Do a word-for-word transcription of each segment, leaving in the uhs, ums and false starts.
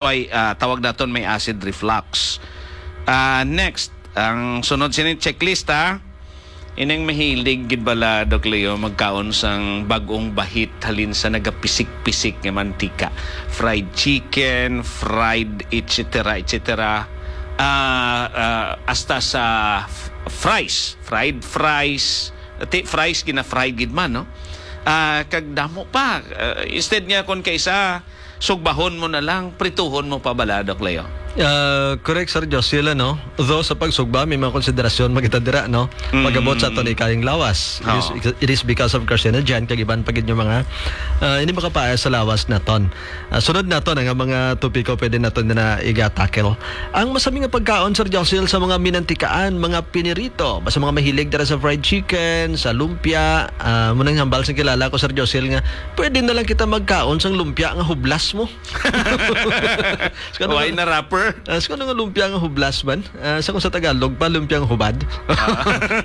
Ay, ah, tawag naton may acid reflux. Ah, next, ang sunod sini checklist, ha. Ining mahilig gid bala, Doc Leo, magkaon sang bag-ong bahit halin sa nagapisik-pisik nga mantika. Fried chicken, fried et cetera, et cetera. Ah, ah, hasta sa f-, fries, fried fries. Ti, fries, gina-fried gid man, no? Ah, kag damo pa. Ah, instead nga kon kaisa, sugbahon mo na lang, prituhon mo pa bala, Doc Leo? Ah, correct, Sir Josil, ano? Though sa pagsugba, may mga konsiderasyon man kita dira, no? Mm. Pag-abot sa aton ikayong lawas. It is, Oo. it is because of carcinogen, kag iban pa gid yung mga, ah, hindi makapaayos sa lawas naton. Ah, sunod naton, ang mga topiko pwede naton na iga-tackle. Ang masami nga pagkaon, Sir Josil, sa mga minantikaan, mga pinirito, basta mga mahilig dira sa fried chicken, sa lumpia, ah, mo nang hambal sa kilala ko, Sir Josil, nga pwede na lang kita magkaon sang lumpia nga hublas mo. Why na wrapper? Ah, sa nga lumpia nga hublas man? Ah, sa kung sa Tagalog pa, lumpiang hubad. Ah.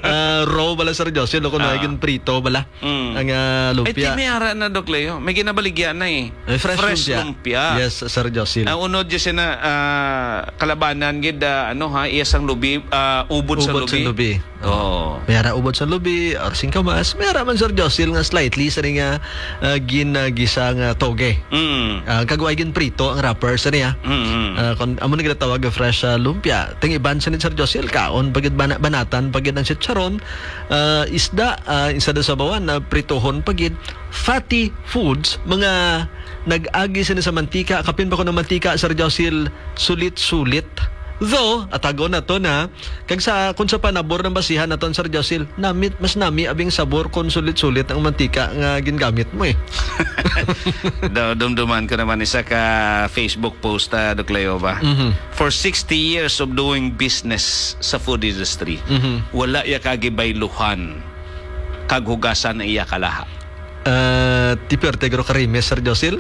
Ah, raw bala, Sir Josil, o kung Ah. naging prito bala. Mm. Ang, ah, lumpia. Ay, ti, may ara na, Doc Leo. May ginabaligya na eh. Ay, fresh Fresh lumpia. lumpia. Yes, Sir Josil. Ang unod dyan siya na, ah, kalabanan gid, ah, ano ha, iya sang lubi, ah, ubod sa Ubod sa lubi. lubi. Oo. May ara ubod sa lubi, or singkamas. May ara man, Sir Josil, nga slightly sa nga, ah, ginagisa nga toge. Mm. Ah, kag wa ginprito ang wrapper sa niya. Mm, mm. Ah, kon amo na ginatawag nga fresh, ah, lumpia. Ting iban sa ni Sir Josil, kaon pa gid bana-, banatan pa gid ang chicharon, ah, isda, ah, instead of sabawan, ah, prituhon pa gid. Fatty foods, mga nag-agi sini sa mantika, kapin pa ko ng mantika, Sir Josil, sulit-sulit. Though, atagon na to na, kag sa, kung sa panabor ng basihan naton, Sir Josil, namit, mas nami abing sabor kung sulit-sulit ang mantika nga gingamit mo eh. Do-, dumduman ko naman isa ka Facebook post, ah, Doc Leo ba? Mhm. For sixty years of doing business sa food industry, Mhm. wala ya kagibayluhan kag hugasan ang iya kalaha. Ah, ti perte gro karime, Sir Josil.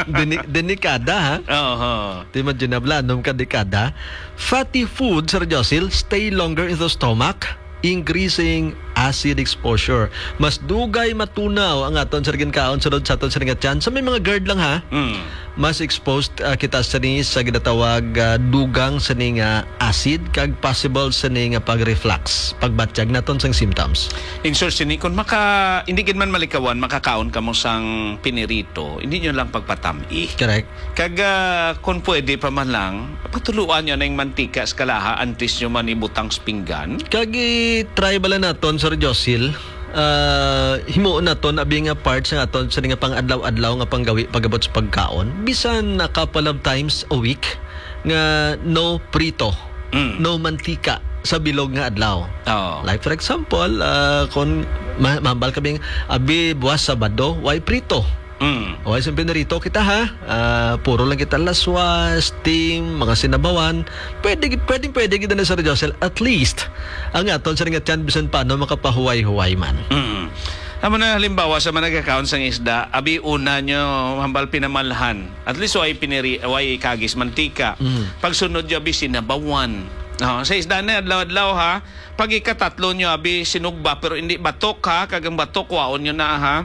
Deni-, denikada, ha? Oho. Ti madyan na bala, anong kadekada? Fatty food, Sir Josil, stay longer in the stomach, increasing acid exposure. Mas dugay matunaw ang aton sa ginkaon, sunod sa aton sa nga tiyan. So, may mga GERD lang, ha? Mm. Mas exposed, ah, kita sini sa ginatawag, ah, dugang sini nga acid kag possible sini nga pag-reflux, pagbatyag naton sang symptoms. In short, sini, kung maka-, hindi gid man malikawan, makakaon kamo sang pinirito, hindi nyo lang pagpatami. Correct. Kag, ah, kung pwede pa man lang, patuluan nyo na yung mantika sa kalaha antes nyo man ibutang sa pinggan. Kag i-try bala naton, Sir Josil, ah, himuon naton abi nga part sa aton sa nga pang-adlaw-adlaw nga panggawi pagabot sa pagkaon. Bisan a couple of times a week nga no prito, Mm. no mantika sa bilog nga adlaw. Oo. Like for example, ah, kung ma-, mahambal kami, abi, buwas Sabado, way prito. Mm. O, ay, sa pinarito kita, ha? Ah, puro lang kita laswa, steam, mga sinabawan. Pwede, pwede, pwede kita na, Sir Josel. At least, ang aton sa nga tiyan, bisan paano, makapahuway-huway man. Mm. Amo na, halimbawa, sa mga nagkakaon sang isda, abi, una nyo, hambal pinamalhan. At least, way piniri-, way ikagis mantika. Mm. Pagsunod nyo, abi, sinabawan. Oh, sa isda na, adlaw-adlaw, ha? Pag ikatatlo nyo, abi, sinugba, pero hindi batok, ha? Kag ang batok, kwaon nyo na, ha?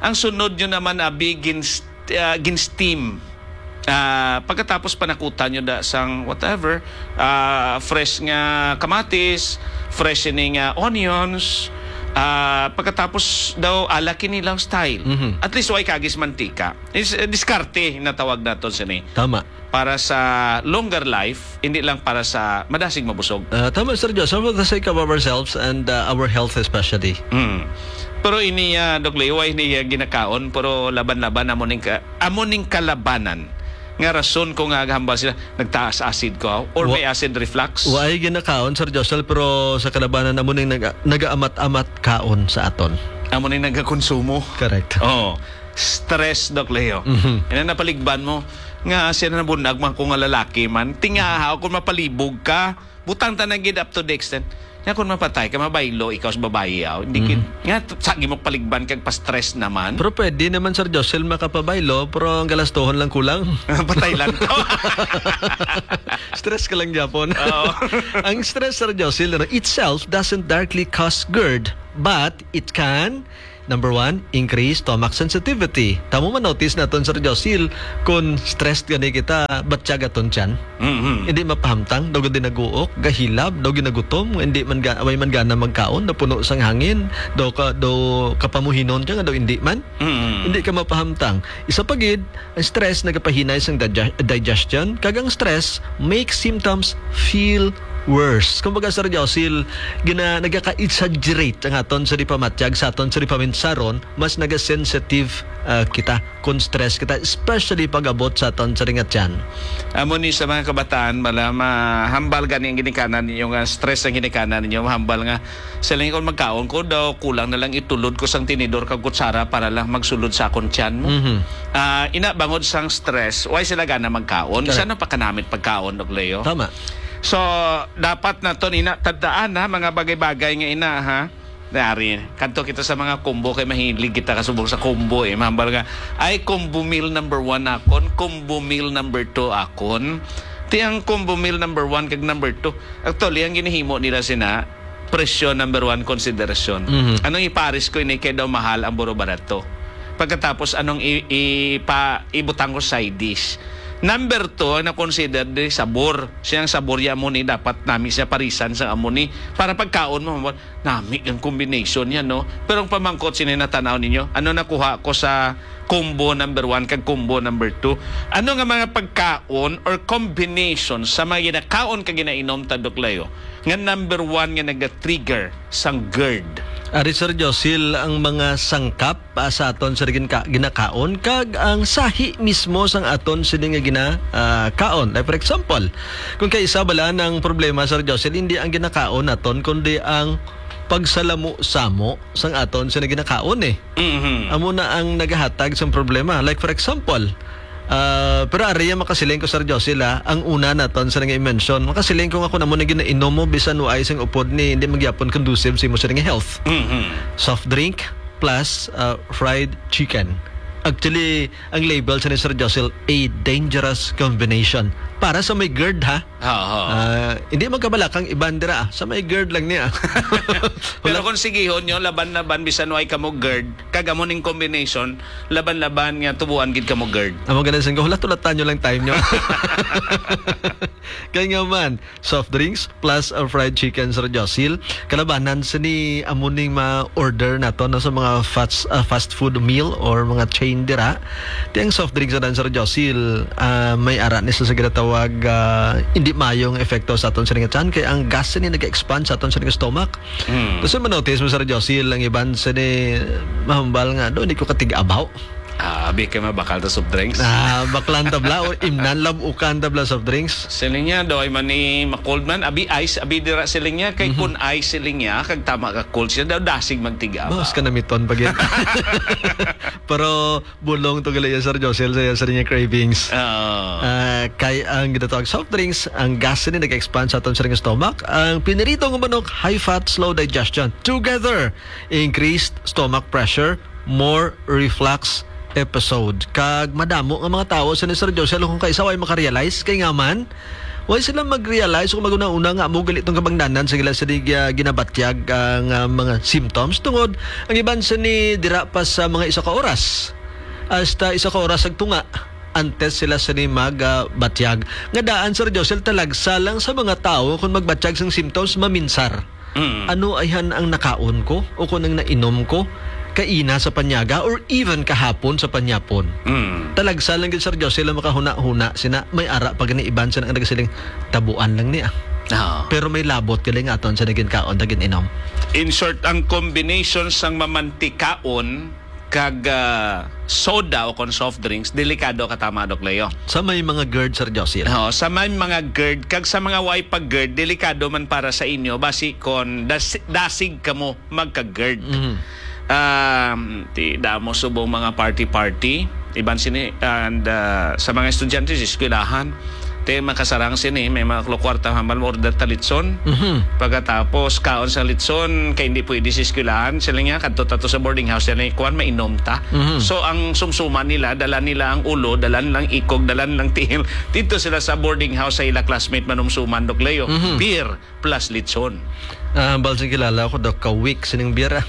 Ang sunod nyo naman, abi, gin-, ah, gin-steam. Ah, pagkatapos panakutan nyo da sang whatever, ah, fresh nga kamatis, fresh ini nga onions, ah, pagkatapos daw ala kini lang style. Mhm. At least way kagis mantika. Is, eh, diskarte na tawag naton sini. Tama. Para sa longer life, hindi lang para sa madasig mabusog. Ah, tama, Sir Joe. So, for the sake of ourselves and, ah, our health especially. Mm. Pero ini, ah, Doc Leo, ini, ah, ginakaon, pero laban-laban, amo ning ka-, amo ning kalabanan. Nga rason ko nga gahambal sila, nagtaas acid ko, or Wa-, may acid reflux. Wa ay ginakaon, Sir Josel, pero sa kalabanan, amo ning naga-, nagaamat-amat kaon sa aton. Amo ning nagakonsumo. Correct. Oo. Stress, Doc Leo. Mhm. Ina napaligban mo, nga siya na bunag man ko nga lalaki man. Tingaha, kung mapalibog ka, butang ta na gid up to the extent. Nga kung mapatay ka, mabaylo, ikaw sa babayi, aw. Hindi gid. Mhm. Nga, t-, sa gimok paligban kag pa-stress naman. Pero pwede naman, Sir Josel, makapabaylo, pero ang galastohon lang kulang. Patay lang to. Stress ka lang gyapon. Oo. Ang stress, Sir Josel, ano, itself doesn't directly cause GERD, but it can Number one, increase stomach sensitivity. Tamo man notice naton, Sir Josil, kung stressed gani kita, batyag aton tiyan. Mhm. Hindi mapahamtang, daw gid naguok, gahilab, daw ginagutom, hindi man ga-, way man gana magkaon, napuno sang hangin, daw ka, daw kapamuhinon ka nga daw hindi man. Mhm. Hindi ka mapahamtang. Isa pa gid, ang stress nagapahinay sang digest-, digestion, kag ang stress makes symptoms feel worse. Kumbaga, Sir Josil, gina-, nagaka-exaggerate ang aton sa di pamatyag, sa aton sa di paminsaron, mas nagasensitive, ah, kita kung stress kita, especially pag-abot sa aton sa ringat tiyan. Amo ni sa mga kabataan, mala, mahambal gani ang ginikanan ninyo nga stress ang ginikanan ninyo, mahambal nga, "Siling ko, magkaon ko daw, kulang na lang itulod ko sang tinidor kag kutsara para lang magsulod sa akon tiyan mo." Mhm. Ah, ina, bangod sang stress, why sila gana magkaon? Correct. Saan ang pakanamit pagkaon, Doc Leo? Tama. So, dapat naton ina tandaan, ha, mga bagay-bagay nga ina, ha? Dari, kadto kita sa mga combo kay mahilig kita kasubong sa combo, eh. Mahambal nga, "Ay, combo meal number one akon, combo meal number two akon." Ti ang combo meal number one kag number two. Actually, ang ginahimo nila sina, presyo number one consideration. Mhm. Anong ipares ko ini kay daw mahal ang buro barato? Pagkatapos, anong i-, ipa-, ibutang ko side dish? Number two, ang na-consider di sabor. Siyang sabor ya mo ni dapat nami siya parisan sa amo ni. Para pagkaon mo, nami ang combination yan, no? Pero ang pamangkot sini natanaw ninyo, ano nakuha ko sa combo number one kag combo number two? Ano nga mga pagkaon or combination sa mga ginakaon kag ginainom ta, Doc Leo, nga number one nga naga-trigger sang GERD? Ari, Sir Josil, ang mga sangkap, ah, sa aton sa gin-, ka-, ginakaon kag ang sahi mismo sang aton sini nga gina-, ah, kaon. Like, for example, kung kaisa bala ang problema, Sir Josil, hindi ang ginakaon naton, kundi ang pagsalamo-samo sang aton sini ginakaon, eh. Mhm. Amo na ang nagahatag sang problema. Like, for example, ah, pero ari ang makasiling ko, Sir Josil, ah, ang una naton sa nga i-mention. Makasiling ko nga kung amo na ginainom mo, bisan wa ay sing upod ni, hindi magyapon conducive sa imo sa nga health. Mhm. Soft drink plus, ah, fried chicken. Actually, ang label sa ni Sir Josil, a dangerous combination. Para sa may GERD, ha? Oo. Ah, hindi magkabalakang iban dira, ah. Sa may GERD lang niya. Pero kung sigihon nyo, laban-laban, bisan way kamo GERD, kag amo ning combination, laban-laban nga tubuan gid kamo GERD. Amo ganin sing ko, hulat-hulatan nyo lang time nyo. Kay nga man, soft drinks plus ang fried chicken, Sir Josil. Kalabanan sini amo ning ma-order nato, no, sa mga fast, ah, fast food meal or mga chain dira. Ti ang soft drinks na, Sir Josil, ah, may ara ni sa, sa ginatawag, ah, hindi maayong epekto sa aton sa nga tiyan, kay ang gas ni nag-expand sa aton sa nga stomach. Hmm. Gusto mo notice mo, Sir Josil, ang iban sa ni mahambal nga, "Do, hindi ko katig-abaw." Ah, abi kay mabakal ta soft drinks. Ah, baklan tabla or imnan labukan tabla soft drinks. Siling niya, do, ay man ni ma-cold man, abi ice, abi dira siling niya, kay Mhm. kun ice siling niya, kag tama ka cold siya, daw dasig magtig-abaw. Bawas ka na miton pag yun. Pero bulong to gali yan, Sir Josel, sa, sa niya cravings. Oo. Ah, kay ang ginatawag soft drinks, ang gas ni nag-expand sa aton sa stomach. Ang pinirito nga manok, high fat, slow digestion. Together, increased stomach pressure, more reflux episode. Kag madamo nga mga tawo sa ni Sir Josel kung kaisa way makarealize, kay nga man, way sila mag-realize kung maguna-una nga amo gali tong kabangdanan sa gila sa di, ah, ginabatyag ang, ah, mga symptoms, tungod ang iban sa ni dira pa sa mga isa ka oras hasta isa ka oras ag tunga antes sila sa ni mag, ah, batyag. Nga daan, Sir Josel, talagsa lang sa mga tawo kung magbatyag sang symptoms, maminsar. Mm. Ano ayhan ang nakaon ko o kung ang nainom ko kaina sa panyaga or even kahapon sa panyapon? Mm. Talagsa lang gid, Sir Josel, ang makahuna-huna sina may ara pa gani iban sina nga nagasiling, "Tabuan lang ni, ah." Oo. Pero may labot gali nga aton sa nagin kaon, nagin inom. In short, ang combination sang mamantikaon kag, ah, soda o kon soft drinks, delikado ka tama, Doc Leo? Sa may mga GERD, Sir Josil. Oo, sa may mga GERD, kag sa mga way pa GERD, delikado man para sa inyo, basi kon das-, dasig kamo magka-GERD. Mhm. Um, ti damo subong mga party-party, iban sini, and, ah, sa mga estudyante sa eskwelahan, ti makasarang sini, may mga kwarta hambal mo order ta litson. Mhm. Pagkatapos, kaon sa litson, kay hindi pwede sa eskwelahan, sila niya, kadto ta to sa boarding house, sila kuwan, mainom ta. Mhm. So, ang sumsuman nila, dala nila ang ulo, dala nilang ikog, dala nilang tiil. Dito sila sa boarding house sa ila classmate manumsuman, Doc Leo. Mhm. Beer plus litson. Ah, hambal sing kilala ko, daw ka-weak sining beer, ah.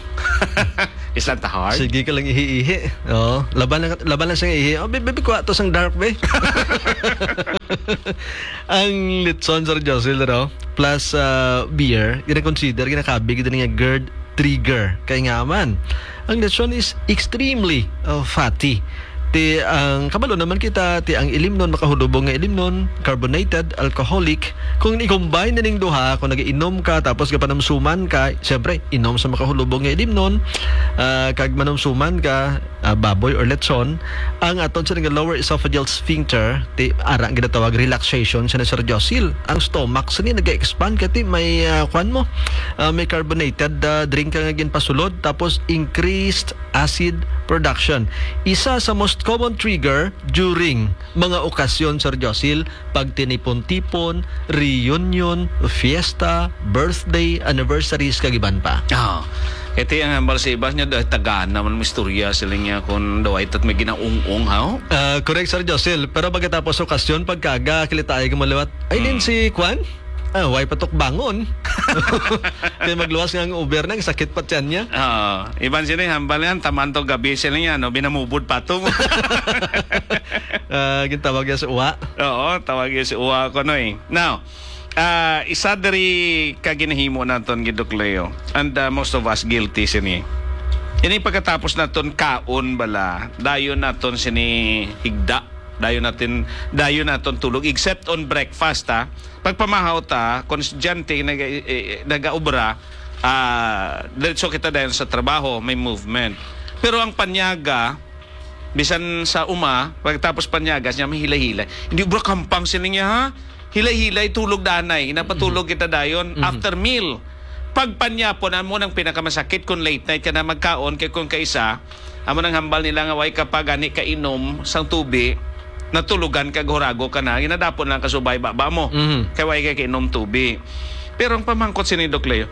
Is that the heart? Sige ka lang ihi-ihi. Oo. Laban lang, laban lang siya ihi. Oh, baby, baby, kuha to sang dark, be. Ang litson, Sir Josil, no? Plus, ah, beer, gina-consider, ginakabig, gina nga GERD trigger. Kay nga man, ang litson is extremely, uh, fatty. Ti, ang kabalo naman kita, ti ang ilimnon, makahulubong nga ilimnon, carbonated, alcoholic. Kung i-combine na ning duha, kung nag-inom ka, tapos gapanamsuman ka, siyempre, inom sa makahulubong nga ilimnon, ah, kag manumsuman ka, ah, baboy or lechon, ang aton sa nga lower esophageal sphincter, ti, ara ang ginatawag relaxation sa Sir Josil. Ang stomach sa ni nag-expand, kati may, ah, kwan mo, ah, may carbonated, ah, drink ka nga ginpasulod, tapos increased acid production. Isa sa most common trigger during mga okasyon, Sir Josil, pagtinipon-tipon, reunion, fiesta, birthday, anniversaries, kag iban pa. Ah, ito ang hambal sa iba niya, dahil tagaan naman mo istorya sila niya kung daw ay tat may ginaung-ung, ha? Ah, correct, Sir Josil. Pero pagkatapos okasyon, pagkaga, kilitaay ka maliwat. Ay, din Hmm. si Kwan? Ah, way patok bangon. Kaya magluwas nga ang Uber na, sakit pa tiyan niya. Ah, iban sila yung hambal yan, taman to gabi sila niya, no? Binamubod pa to. Ah, gintawag niya sa uwa. Oo, tawag niya sa uwa ko, no, eh. Now, ah, isa diri ka ginahimo naton, Gidok Leo, and, ah, most of us guilty sini. Ini pagkatapos naton kaon bala, dayon naton sini higda. Dayon natin, dayon naton tulog, except on breakfast, ha. Pagpamahaw ta, kung estudyante, nag-, eh, eh, nag-aobra, ah, diretso kita dayon sa trabaho, may movement. Pero ang panyaga, bisan sa uma, pagtapos panyaga, siya may hilay-hilay. Hindi, bro, kampang sining niya, ha? Hilay-hilay, tulog danay. Napatulog Mhm. kita dayon Mhm. after meal. Pag panyapon, amo nang pinakamasakit kung late night ka na magkaon, kay kung kaisa, amo nang hambal nila nga way ka pa gani kainom sang tubi, natulugan ka, gurago ka na, ginadapon lang ka subay baba mo. Mhm. Kay way ka kainom tubi. Pero ang pamangkot sini, Doc Leo,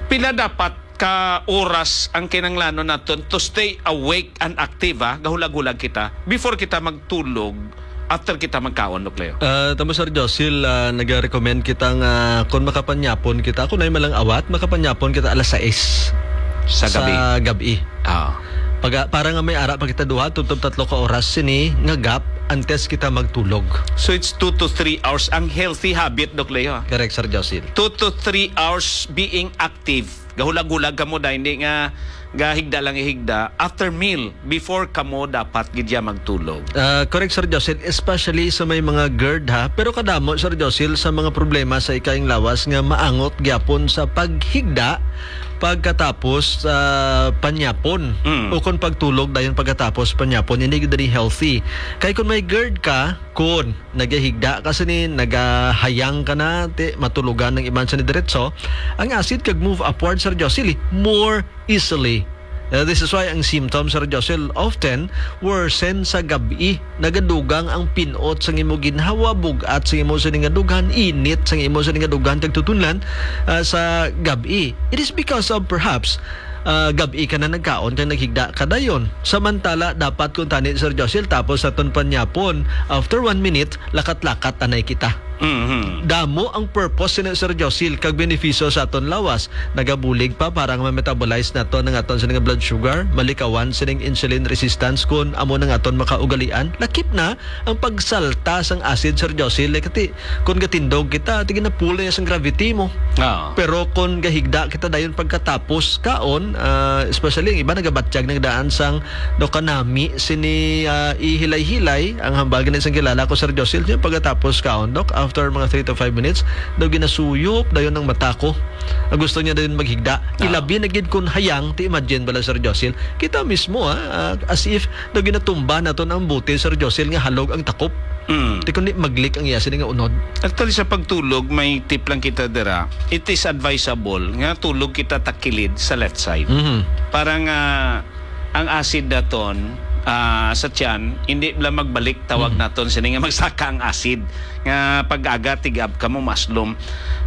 pila dapat ka oras ang kinanglanon naton to stay awake and active, ha? Gahulag-hulag kita before kita magtulog, after kita magkaon, Doc Leo? Ah, tama, Sir Josil, ah, nag-recommend kita nga kung makapanyapon kita, kung ay malang awat, makapanyapon kita alas sais Sa gabi? sa gabi. Ah. Pag, para nga may ara pa kita duha, tubtob tatlo ka oras sini nga gap antes kita magtulog. So it's two to three hours. Ang healthy habit, Doc Leo, ha? Correct, Sir Josil. Two to three hours being active. Gahulag-hulag kamo, da, hindi nga gahigda lang ihigda. After meal, before kamo dapat gid ya magtulog. Ah, correct, Sir Josil, especially sa may mga GERD, ha. Pero kadamo, Sir Josil, sa mga problema sa ikaing lawas nga maangot gyapon sa paghigda pagkatapos sa panyapon Mm. o kon pagtulog dayon pagkatapos panyapon, hindi gid diri healthy. Kay kon may GERD ka, kon nagahigda ka sini, nagahayang ka na, ti, matulogan ng iban sa ni diretso, ang acid kag move upward, Sir Josil, eh, more easily. Uh, this is why ang symptoms, Sir Josil, often worsen sa gabi. Nagadugang ang pinot sa imo ginhawa, bugat sa imo sini nga dughan, init sa imo sini nga dughan, kag tutunlan, ah, sa gabi. It is because of, perhaps, ah, gabi ka na nagkaon kag naghigda ka dayon. Samantala, dapat kung tani, Sir Josil, tapos sa aton panyapon, after one minute, lakat-lakat anay kita. Mhm. Damo ang purpose sini, Sir Josil, kag benepisyo sa aton lawas. Nagabulig pa para nga ma-metabolize naton ang aton sini nga blood sugar, malikawan sining insulin resistance kun amo nang aton makaugalian. Lakip na ang pagsalta sang acid, Sir Josil, eh, kati kun gatindog kita, ti ginapulo niya sang gravity mo. Ah. Pero kun gahigda kita dayon pagkatapos kaon, ah, especially ang iba nagabatyag, nagdaan sang, no, kanami sini, ah, ihilay-hilay, ang hambal gani sang kilala ko, Sir Josil, yung pagkatapos kaon, Doc, after mga three to five minutes, daw ginasuyop dayon ang mata ko. Ang gusto niya dayon maghigda. Ah. Ilabi na gid kun hayang, ti imagine bala, Sir Josil. Kita mismo, ah, ah, as if daw ginatumba naton ang butil, Sir Josil, nga halog ang takop. Mm. Ti kundi maglik ang iya sini nga unod. Actually, sa pagtulog, may tip lang kita dira. It is advisable nga tulog kita takilid sa left side. Mhm. Para nga ang acid naton, ah, sa tiyan, hindi lang magbalik, tawag Mhm. naton sini nga magsaka ang acid. Nga pag-aga, tig-up ka mo, maslom.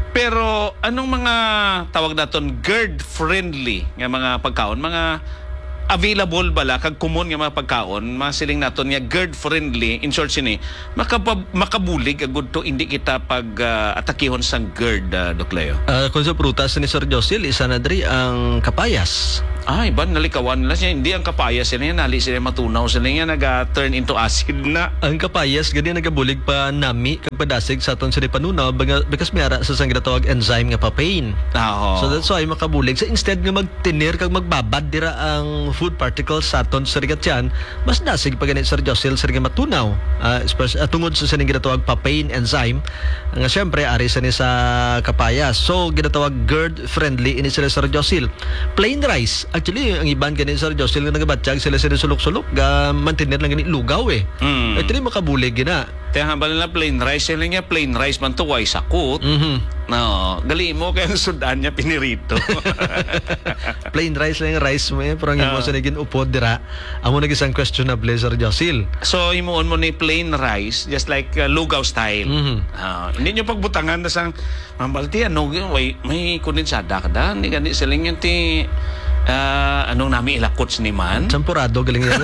Pero anong mga, tawag naton, GERD-friendly nga mga pagkaon? Mga available bala kag common nga mga pagkaon, mga siling naton nga GERD-friendly, in short sini, makapa-, makabulig agud to hindi kita pag, ah, atakihon sang GERD, ah, Doc Leo? Ah, kung sa prutas ni Sir Josil, isa na diri ang kapayas. Ah, iban nalikawan nila siya. Hindi, ang kapayas sila yan. Nali sila matunaw sila yan. Naga-turn into acid na. Ang kapayas, gani nagabulig pa nami kag padasig sa aton sini panunaw, baga-, because may ara sa sang ginatawag enzyme nga papain. Ah, oo. So that's why makabulig. So instead nga magtinir kag magbabad dira ang food particles sa aton sa rigatyan, mas dasig pa gani, Sir Josil, sir, nga matunaw. Ah, especially, ah, tungod sa sining ginatawag papain enzyme, nga siyempre, ari sa ni sa kapayas. So, ginatawag GERD friendly ini sila, Sir Josil. Plain rice. Actually, ang iban gani, Sir Josil, nga nagabatyag sila sa sulok-sulok, ga mantener lang gani lugaw eh. Mm. Actually, makabulig gina. Kaya nga bala na plain rice, sila niya plain rice man to, way sakot. Mhm. No, gali mo kaya ang sudan niya pinirito. Plain rice lang yung rice mo eh, pero ang imo Ah. sa naging upod dira, amo nag isang questionable, Sir Josil. So, himuon mo ni plain rice, just like, uh, lugaw style. Mhm. Ah, hindi nyo pagbutangan na sang, "Ma'am Balti, ano, may, may kondensada ka da? Hindi gani siling yun ti, ah, anong nami ilakot ni man?" Champurado, galing yan.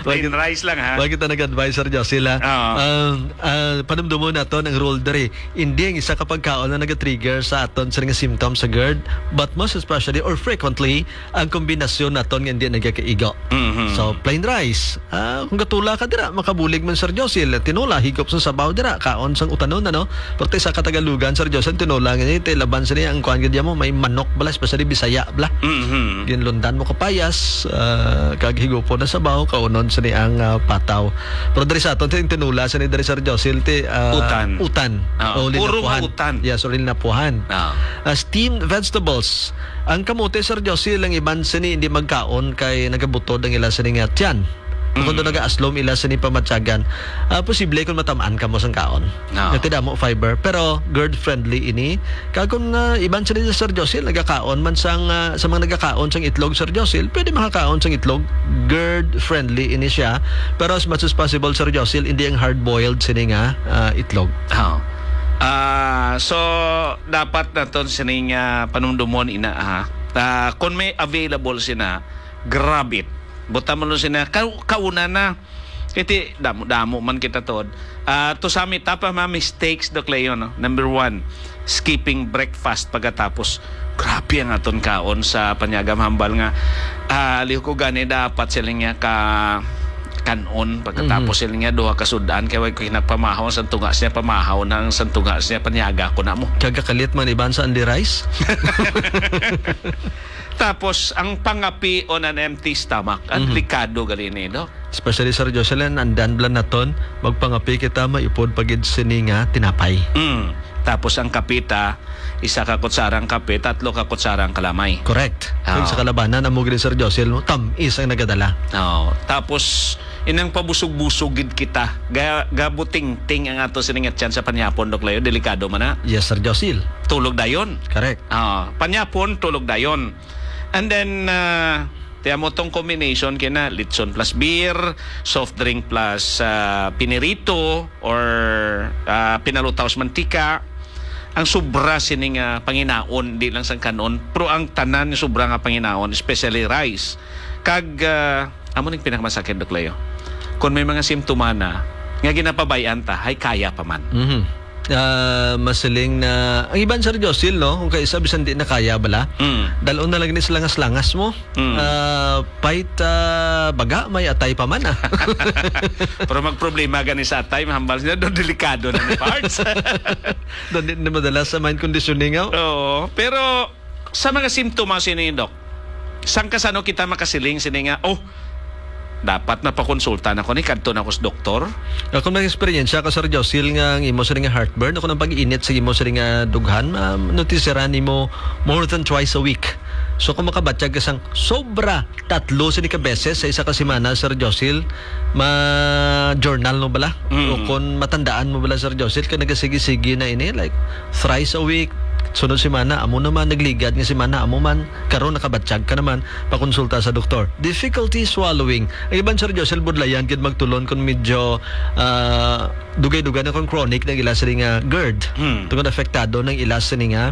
Plain rice lang, ha? Wag kita nag-advise, Sir Josil, ha? Oo. Ah, ah, panumdumon naton ang rule diri. Hindi ang isa ka pagkaon na nag-trigger sa aton sa nga symptoms sa GERD, but most especially or frequently, ang kombinasyon naton nga hindi nagakaigo. Mhm. So, plain rice. Ah, kung gatula ka dira, makabulig man, Sir Josil. Tinola, higop sa sabaw dira, kaon sang utanon, ano? Pero sa katagalugan, Sir Josil, tinola nga ni, ti laban sa niya, ang kuan gid mo, may manok bala, especially Bisaya bala. Mhm. Ginlundan mo kapayas, ah, kag higupon na sabaw, kaunon sa ni ang, ah, pataw. Pero diri sa aton, ti, ang tinola sa ni diri, Sir Josil, ti, ah, Utan. utan. Ah, O puro linapuhan. utan. Yes, o linapuhan. Ah. Ah, steamed vegetables. Ang kamote, Sir Josie, lang iban sini hindi magkaon kay nagabutod ang ila sini nga tiyan. Kung Mm. nagaaslom ila sini pamatyagan, ah, posible kung matamaan ka mo sang kaon. No. Nga ti damo fiber, pero GERD friendly ini. Kag kung, ah, iban sini, Sir Josie, nagakaon man sang, ah, sa mga nagakaon sang itlog, Sir Josie, pwede makakaon sang itlog. GERD friendly ini siya. Pero as much as possible, Sir Josie, hindi ang hard-boiled sini nga, ah, itlog. Oh. Ah, so dapat naton sining, ah, panumdumon ina, ha. Ah, kung may available sina, grab it. Buta mo lang sina, ka-, kauna na. Kiti, damo-damo man kita, Tod. Ah, to sum it up, ang mga mistakes, Doc Leo, no? Number one, skipping breakfast pagkatapos. Grabe ang aton kaon sa panyagam hambal nga, ah, liho ko gani dapat sila nga ka kanon pagkatapos Mhm. sila nga duha ka sudan kay way ko hinagpamahaw ang santunga siya pamahaw nang santunga siya panyaga ko na mo. Kagakalit man iban sa only rice. Tapos, ang pangapi on an empty stomach, ang Mhm. delikado gali ni, Doc. Especially, Sir Jocelyn, andan blan naton, magpangapi kita, maipod pa gid sini nga tinapay. Mm. Tapos, ang kape ta, isa ka kutsarang kape, tatlo ka kutsarang kalamay. Correct. Oo. Kag sa kalabanan, amo gid, Sir Jocelyn, tam-is ang nagadala. Oo. Tapos, inang pabusog-busog gid kita. Ga-, gabutingting ang ato sini nga tiyan sa panyapon, Doc Leo, delikado man na. Yes, Sir Jocelyn. Tulog dayon. Correct. Ah, panyapon, tulog dayon. And then, ah, tiyan mo tong combination kina litson plus beer, soft drink plus, ah, pinirito, or, ah, pinalutaw sa mantika. Ang sobra sini nga panginaon, di lang sang kanon, pero ang tanan nga sobra nga panginaon, especially rice. Kag, ah, amo ning pinakamasakit, Doc Leo. Kung may mga simptoma na, nga ginapabay-an ta, hay kaya pa man. Mhm. Ah, masiling na, ang iban, Sir Josil, no? Kung kaisa, bisan di na kaya bala, Mm. dalon na lang ni sa langas-langas mo. Mm. Ah, pait, ah, baga, may atay pa man, ah. Pero magproblema gani sa atay, mahambal sila, do delikado na ni parts. Doon din na madala sa mind conditioning, oh. Oo, pero sa mga simptomas ini, Doc, saan ka sano kita makasiling sini nga, "Oh, dapat na pakonsulta na ko ni, kadto na ko sa doktor"? Ako nag-eksperyensya ka, Sir Josil, nga ang imo sini nga heartburn, ako nang pag-init sa imo sini nga dughan, ma-, notisiran nimo more than twice a week. So, kung makabatyag ka sang sobra tatlo sini ka beses sa isa ka semana, Sir Josil, ma-journal mo bala? Mm. O kung matandaan mo bala, Sir Josil, kay nagasigi-sigi na ini, like, thrice a week, sunod semana, amo naman, nagligad nga semana, amo man, karon nakabatyag ka naman, pakonsulta sa doktor. Difficulty swallowing. Ang iban, Sir Josil, budlayan gid magtulon kung medyo, ah, dugay-dugay na kung chronic na ila sila nga GERD. Hmm. Tungod apektado ng ila sila nga,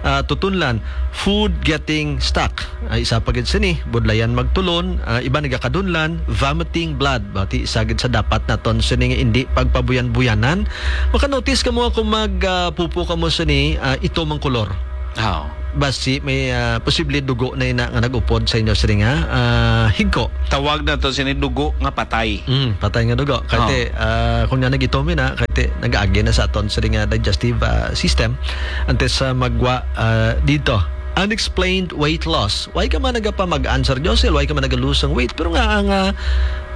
ah, tutunlan. Food getting stuck. Ay, isa pa gid sini, budlayan magtulon, ah, iba nagakadunlan, vomiting blood. Bati isa gid sa dapat naton sini nga hindi pagpabuyan-buyanan. Makanotice ka mo kung mag, ah, pupo ka mo sini, ah, itom ang kolor. Oh. basi may, ah, posible dugo na ina nga nag-upod sa inyo sini nga, ah, higko. Tawag na to sini dugo nga patay. Mm, patay nga dugo. Kay Oh. ti, ah, kung nga nag-itom na, kay ti, nag-agi na sa aton sini nga digestive, ah, system. Antes sa magwa, ah, dito. Unexplained weight loss. Why ka man nagapamag-an, Sir Josel? Why ka man nag-lose ang weight? Pero nga, ang, ah,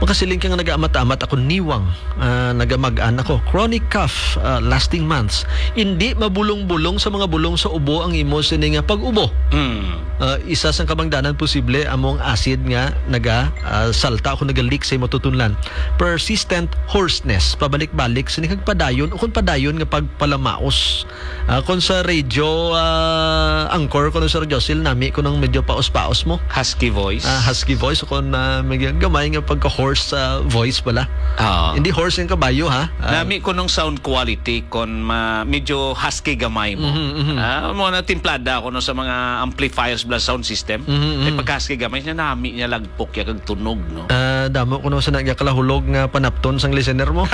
makasiling ka nga nag-amat-amat ako niwang, ah, nagamag-an ako. Chronic cough, ah, lasting months. Hindi mabulong-bulong sa mga bulong sa ubo ang imo sini nga pag-ubo. Mm. Ah, isa sang kabangdanan posible amo ang acid nga naga, ah, salta o naga-leak sa imo tutunlan. Persistent hoarseness, pabalik-balik sini kag padayon o kung padayon nga pagpalamaos. Ah, kung sa radio, ah, anchor ko no, Sir Josil, nami ko nang medyo paos-paos mo. Husky voice. Ah, husky voice o kung, ah, may gamay nga pagka-hoarse sa voice pala. Oo. Hindi hoarse yung kabayo, ha? Ah, Nami ko nung sound quality kon ma-, medyo husky gamay mo. Mhm, mhm. Ah, mo na timplada ko no sa mga amplifiers bla sound system. Mhm, Ay mhm. pagka husky gamay niya nami niya lagpok ya kag tunog, no. Ah, damo ko no sa nagyakalahulog nga panapton sang listener mo.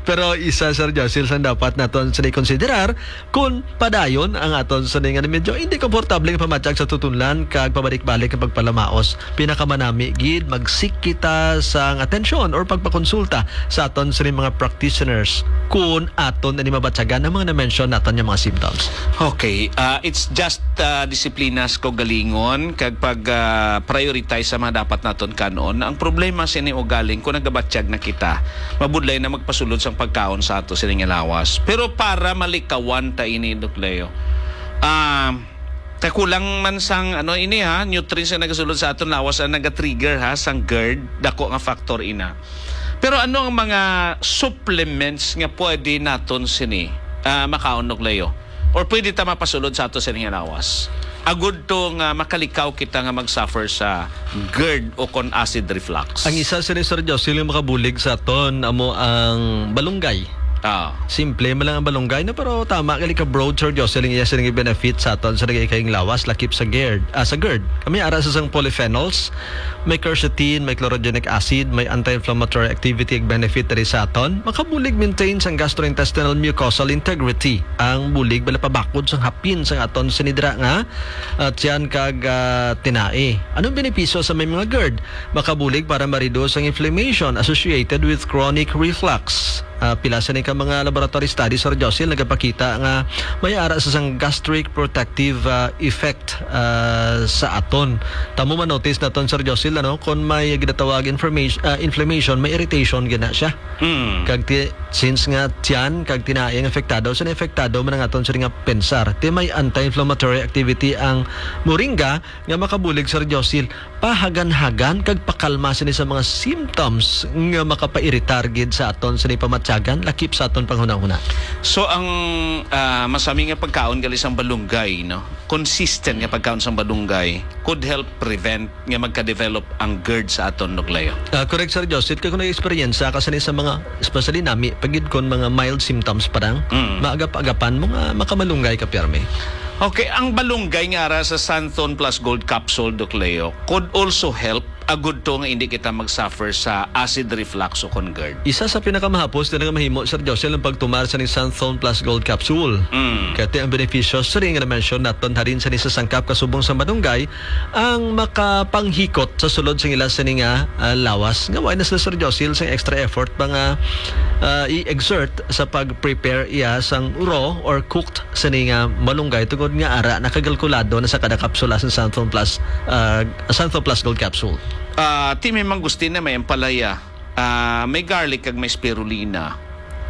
Pero isa, Sir Josil, sang dapat naton sa konsiderar kun padayon ang aton sa nga medyo hindi komportable nga pamatyag sa tutunlan kag pabalik-balik nga pagpalamaos. Pinakamanami gid magsik kita sang atensyon or pagpakonsulta sa aton sa mga practitioners kun aton ani mabatyagan ang mga na-mention naton nga mga symptoms. Okay, ah, it's just, ah, disiplina sa kaugalingon kag pag, ah, prioritize sa mga dapat naton kan-on. Ang problema sini ugaling kung nagabatyag na kita, mabudlay na magpasulod sang pagkaon sa ato sini nga lawas. Pero para malikawan ta ini, Doc Leo, ah, kakulang man sang, ano, ini, ha, nutrients nga nagasulod sa aton lawas ang naga-trigger, ha, sang GERD, dako nga factor ina. Pero ano ang mga supplements nga pwede naton sini, ah, makaon, Doc Leo? Or pwede ta mapasulod sa ato sini nga lawas? Agud to nga makalikaw kita nga mag-suffer sa GERD o kon acid reflux. Ang isa sini, Sir Josil, nga makabulig sa aton amo ang balunggay. Ah. Simple man lang ang balunggay, no? Pero tama gali ka broad, Sir Josil, ang iya sini nga benefit sa aton sa nagay kayong lawas, lakip sa GERD, ah, sa GERD. Kami ara sa sang polyphenols, may quercetin, may chlorogenic acid, may anti-inflammatory activity ag benefit diri sa aton. Makabulig maintain sang gastrointestinal mucosal integrity. Ang bulig bala pabakod sang hapin sang aton sinidra nga, ah, tiyan kag, ah, tinai. Anong benepisyo sa may mga GERD? Makabulig para ma-reduce ang inflammation associated with chronic reflux. Ah, pila sa ni ka mga laboratory studies, Sir Josil, nagapakita nga may ara sa sang gastric protective, ah, effect, ah, sa aton. Tamo ma-notice naton, Sir Josil, ano, kung may ginatawag information, ah, inflammation, may irritation gina siya. Mm. Kag ti-, since nga tiyan, kag tinai ang apektado, sa apektado man ang aton sa nga pensar. Ti may anti-inflammatory activity ang moringa nga makabulig, Sir Josil, pahagan-hagan kag pakalma sini sa mga symptoms nga makapairitar gid sa aton sini pamatyagan, lakip sa aton panghunahuna. So, ang, ah, masami nga pagkaon gali sang balunggay, no? Consistent nga pagkaon sang balunggay could help prevent nga magka-develop ang GERD sa aton, Doc Leo. Ah, correct, Sir Joseph. Kay kung nag-experience ka sini sa mga, especially nami, pagid kon mga mild symptoms pa lang, Mm. maagap-agapan mo nga makamalunggay ka, pirmi. Okay, ang balunggay nga ara sa Santhon Plus Gold Capsule, Doc Leo, could also help agud to nga hindi kita mag-suffer sa acid reflux o kon GERD. Isa sa pinakamahapos na nga mahimo, Sir Josel, ang pagtumar sa ning Santhon Plus Gold Capsule. Mm. Kaya ang benepisyo sa ring na-mention naton harin sa ni sa sangkap kasubong sa malunggay ang makapanghikot sa sulod sa ila sa ni nga, ah, lawas. Nga wala na sila, Sir Josel, sa extra effort pa nga, ah, i-exert sa pag-prepare iya sang raw or cooked sa ni nga malunggay tungod nga ara nakakalkulado na sa kada kapsula sa Santhon Plus, ah, Santhon Plus Gold Capsule. Ah, ti may mangustin na may ampalaya, ah, may garlic kag may spirulina.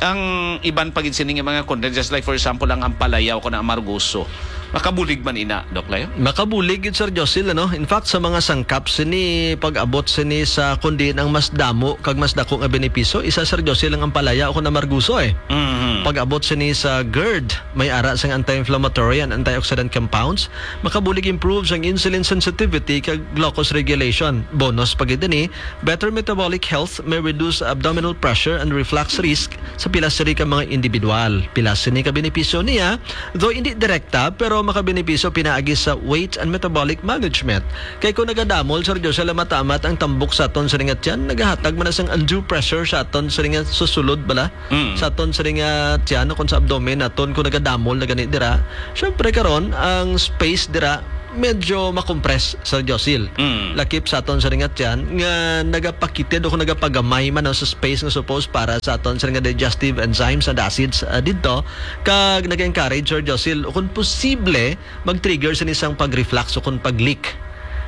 Ang iban pa gid sini nga mga content, just like for example ang ampalaya o kon ang amargoso. Makabulig man ina, Doc Leo? Makabulig gid, Sir Josil, ano? In fact, sa mga sangkap sini, pag-abot sini sa kundi ang mas damo kag mas dako nga benepisyo, isa, Sir Josil, ang ampalaya o kon amargoso, eh. Mhm. Pag-abot sini sa GERD, may ara sang anti-inflammatory and antioxidant compounds, makabulig improve sang insulin sensitivity kag glucose regulation. Bonus pa gid ini, better metabolic health, may reduce abdominal pressure and reflux risk sa pila sini ka mga individual. Pila sini ka benepisyo niya, though hindi direkta, pero makabenepisyo pinaagi sa weight and metabolic management. Kay kung nagadamol, Sir Josel, ang mata-amat ang tambok sa aton sining tiyan, nagahatag man na sang undue pressure sa aton sining susulod bala, Mm. sa aton sining tiyan, kung sa abdomen naton, kung nagadamol na gani dira. Syempre karon, ang space dira medyo makompress, Sir Josil. Mm. Lakip sa aton sining tiyan nga nagapakitid o kung nagapagamay man sa space nga supposed para sa aton sining digestive enzymes and acids, ah, didto, kag nag-encourage, Sir Josil, kung posible, mag-trigger sini sang pag-reflux o kung pag-leak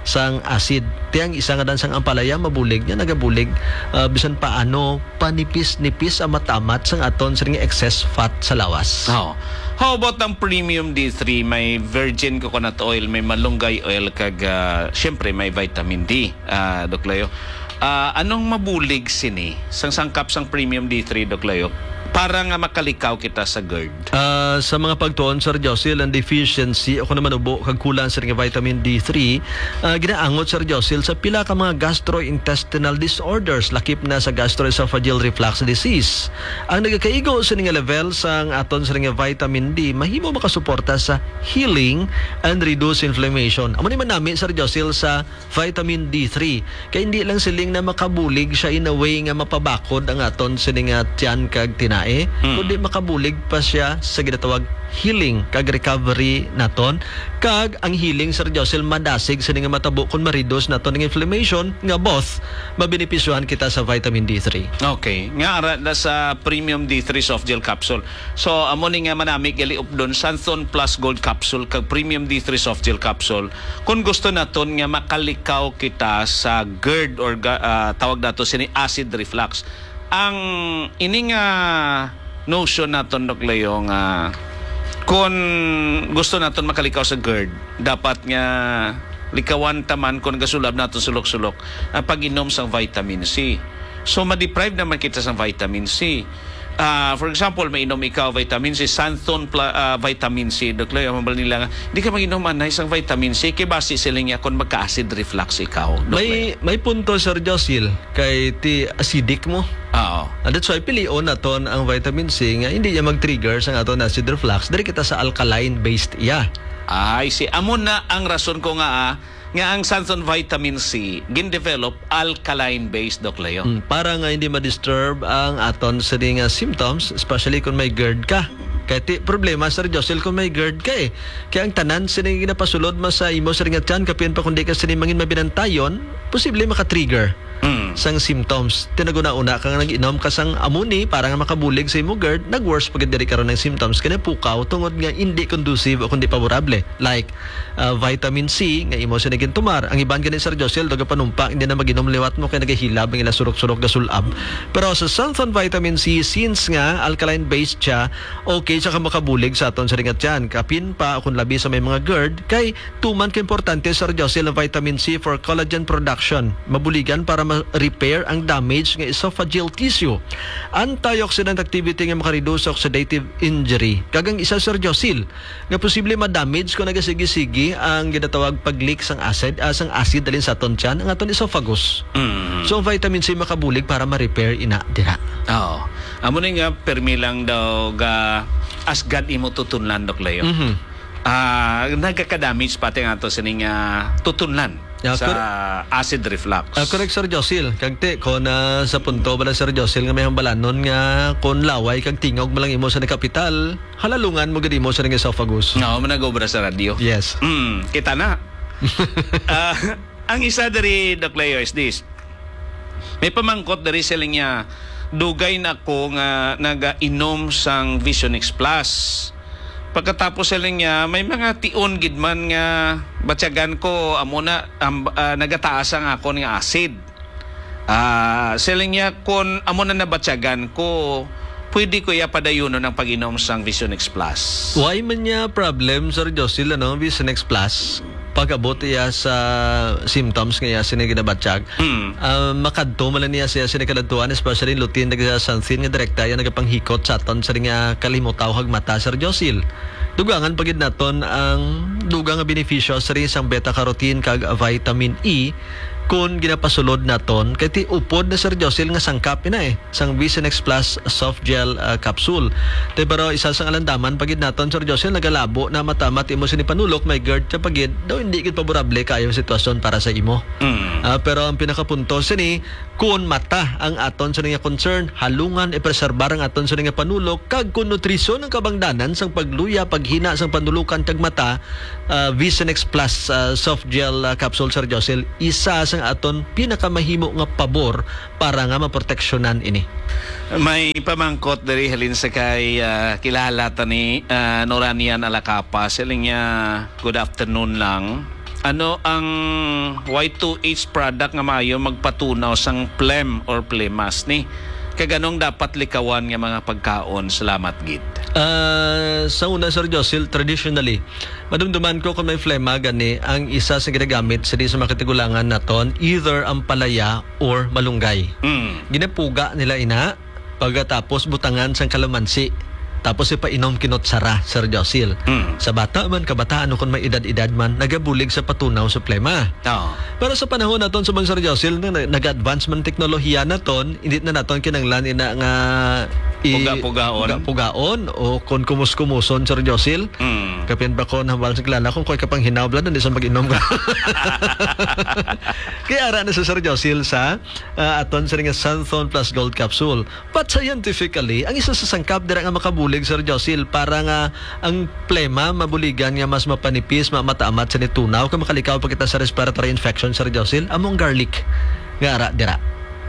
sang acid. Ti ang isa nga dan sang ampalaya mabulig niya, nagabulig, ah, bisan paano panipis-nipis ang mata-amat sang aton sining excess fat sa lawas. Oh. How about ang premium D three? May virgin coconut oil, may malunggay oil, kag, ah, syempre may vitamin D, ah, Doc Leo. Ah, anong mabulig sini sang sangkap sang premium D three, Doc Leo, para nga makalikaw kita sa GERD? Ah, sa mga pagtuon, Sir Josil, ang deficiency o kung naman ubo kag kulang sa nga vitamin D three, ah, ginaangot, Sir Josil, sa pila ka mga gastrointestinal disorders, lakip na sa gastroesophageal reflux disease. Ang nagakaigo sa nga level sang aton sa nga vitamin D mahimo makasuporta sa healing and reduce inflammation. Amo ni man nami, Sir Josil, sa vitamin D three. Kay hindi lang siling na makabulig siya in a way nga mapabakod ang aton sini nga tiyan kag tinae, Mm. kundi makabulig pa siya sa ginatawag healing kag recovery naton. Kag ang healing, Sir Josil, madasig sini nga matabo kung ma-reduce naton ang inflammation nga both mabenepisyohan kita sa vitamin D three. Okay. Nga ara na sa premium D three soft gel capsule. So, amo ni nga manami gali updon, Santhon Plus Gold Capsule kag Premium D three Soft Gel Capsule. Kung gusto naton nga makalikaw kita sa GERD or ga-, ah, tawag nato sini acid reflux. Ang ini nga notion naton, Doc Leo, nga kung gusto naton makalikaw sa GERD, dapat nga likawan ta man kung gasulab naton sulok-sulok ang pag-inom sang vitamin C. So, ma-deprive naman kita sang vitamin C. Ah, for example, mainom ikaw vitamin C, Santhon pla-, ah, vitamin C, Doc Leo, mabal nila nga, "Di ka mag-inom anay sang vitamin C, kay basi sila niya kung magka-acid reflux ikaw, Doc May, Leo." may punto, Sir Josil, kay ti acidic mo. Oo. And that's why pilion naton ang vitamin C nga hindi niya mag-trigger sang aton acid reflux. Diri kita sa alkaline-based iya. Ay, si, amo na ang rason ko nga, ah, nga ang Santhon Vitamin C gin-develop alkaline-based, Doc Leo. Mm, para nga hindi ma-disturb ang aton sini nga symptoms, especially kung may GERD ka. Kay ti problema, Sir Josil, kung may GERD ka eh. Kaya ang tanan sini nga ginapasulod mo sa imo sini nga tiyan, kapin pa kung di ka sini mangin mabinantayon, posible maka-trigger Mm. sang symptoms. Tinaguna-una ka nga nag-inom ka sang amuni para nga makabulig sa imo GERD, nag-worse pa gid diri karon ang symptoms kay napukaw tungod nga hindi conducive o kundi favorable. Like, ah, vitamin C nga imo sini gintumar. Ang iban gani, Sir Josel, daw gapanumpa, hindi na mag-inom liwat mo kay nagahilab ang ila surok-surok gasulab. Pero sa Santhon Vitamin C, since nga alkaline-based siya, okay siya ka makabulig sa aton sini nga tiyan. Kapin pa, kung labi sa may mga GERD, kay tuman ka importante, Sir Josel, ang vitamin C for collagen production. Mabuligan para ma-repair ang damage nga esophageal tissue. Antioxidant activity nga makareduce sa oxidative injury. Kag ang isa, Sir Josel, nga posible ma-damage kung nagasigi-sigi ang ginatawag pag-leak sang acid, ah, sang acid halin sa aton tiyan, ang aton esophagus. Mm. So, ang vitamin C makabulig para ma-repair ina dira. Oo. Amo ni nga, permi lang daw ga asgad imo tutunlan, Doc Leo. Mhm. Ah, nagaka-damage pati nga ato sining, ah, tutunlan Yeah, sa cor- acid reflux. Ah, correct, Sir Josil. Kag ti, kung, ah, sa punto bala, Sir Josil, nga may hambalanon nga kung laway kag tingog mo lang imo sa kapital, halalungan mo gid imo sa esophagus. Nga, mo nag-obra sa radyo. Yes. Mm, kita na. Ah, ang isa diri, Doc Leo, is this. May pamangkot diri sila niya, dugay na ko nga nagainom sang Vision X Plus. Pagkatapos sila niya, may mga tion gid man nga batyagan ko, amo na, am-, ah, nagataas ang akon nga acid. Ah, siling niya, "Kun amo na nabatyagan ko, pwede ko iya padayunon ang pag-inom sang Vision X Plus." Why man niya problem, Sir Josil, ano, Vision X Plus? Pag-abot iya sa symptoms nga iya sini ginabatyag, Hmm. ah, makadto man lang niya siya sini kaladtuan, especially lutin nagsasansin nga direkta iya nagapanghikot sa aton sa nga kalimutaw kag mata, Sir Josil. Dugangan pa gid naton ang dugang nga benepisyo sa sang beta carotene kag vitamin E kung ginapasulod naton, kay ti upod na, Sir Josil, nga sangkap ina eh, sang Vision X Plus soft gel, ah, capsule. Te, pero isa sang alandaman pa gid naton, Sir Josil, nagalabo na matamat imo sini panulok, may gerd ka pa gid, daw hindi gid favorable kaayo ang sitwasyon para sa imo. Mm. Ah, pero ang pinakapunto sini, kun mata ang aton sini nga concern, halungan ipreserbar ang aton sini nga panulok, kag kun nutrisyon ang kabangdanan sang pagluya, paghina sang panulukan kag mata, ah, Vision X Plus, ah, soft gel, ah, capsule, Sir Josil, isa sang aton pinakamahimo nga pabor para nga maproteksyonan ini. May pamangkot diri halin sa kay, ah, kilala ta ni, ah, Noranian Alacapa. Siling niya, "Good afternoon lang. Ano ang Y two H product nga maayo magpatunaw sang phlegm or phlemas ni? Kag anong dapat likawan nga mga pagkaon? Salamat gid." Ah, sa una, Sir Josil, traditionally, madumduman ko kung may phlegma gani ang isa sa ginagamit sa di sa mga katigulangan naton, either ampalaya or malunggay. Mm. Ginapuga nila ina, pagkatapos butangan sang kalamansi. Tapos ipainom kinot sara, Sir Josil. Mm. Sa bata man, kabataan o kung may edad-edad man, nagabulig sa patunaw sa plema. Oo. Pero sa panahon naton, subong, Sir Josil, na, na, nag-advance man teknolohiya naton, hindi na naton kinanglan ina nga i-, Puga-pugaon. Puga-pugaon o kung kumus-kumuson, Sir Josil. Mm. Kapin ba ko nahambal sa kilala kung ko'y kapanghinaw, bala, hindi sa mag-inom ka. Kaya ara na sa, Sir Josil, sa, ah, aton sa nga Santhon Plus Gold Capsule. But scientifically, ang isa sa sangkap dira nga makabulig, Sir Josil, para nga ang plema mabuligan nga mas mapanipis, ma-, mataamat sa nitunaw, kag makalikaw pa kita sa respiratory infection, Sir Josil, amo ang garlic nga ara dira.